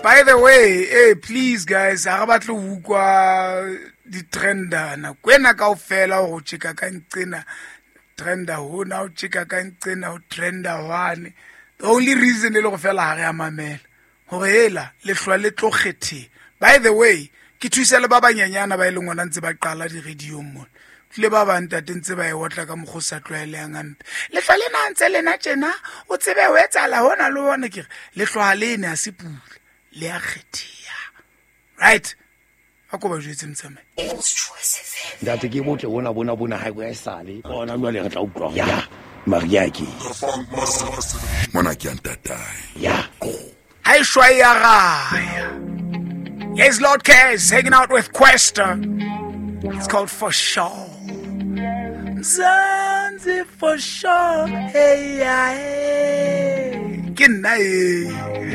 By the way, hey, please guys, ha re batle ho utlwa di-trenda nako ena kaofela gore o tjeka ka nqena trenda hona o tjeka ka nqena o trenda hwane. The only reason e le go fela ha re a mamela gore hela lehlwa le tlo kgetheng. By the way, ke thusa le ba banyenyana ba e leng gona ntse ba qala di-radiong mona. Tlile ba bang tate ntse ba e otla ka mokgwa o sa tlwaelehang hampe. Lehlwa lena ntse lena tjena, o tsebe ho etsahala hona le hona. Ke re lehlwa le ne ha se pula, le a kgetheha. Right? A ko ba jwetse motsamai. Ntate ke botle bona bona bona ha e sale. Bona jwale re tla utlwa. Ya. Maria ke. Mona ke ya ntatae. Ya. Ha e shwa e ya raya. Yes, Lord Cares hanging out with Kwesta. It's called For Sure. Mzansi for sure. Hey, yeah, hey. Ke nna e.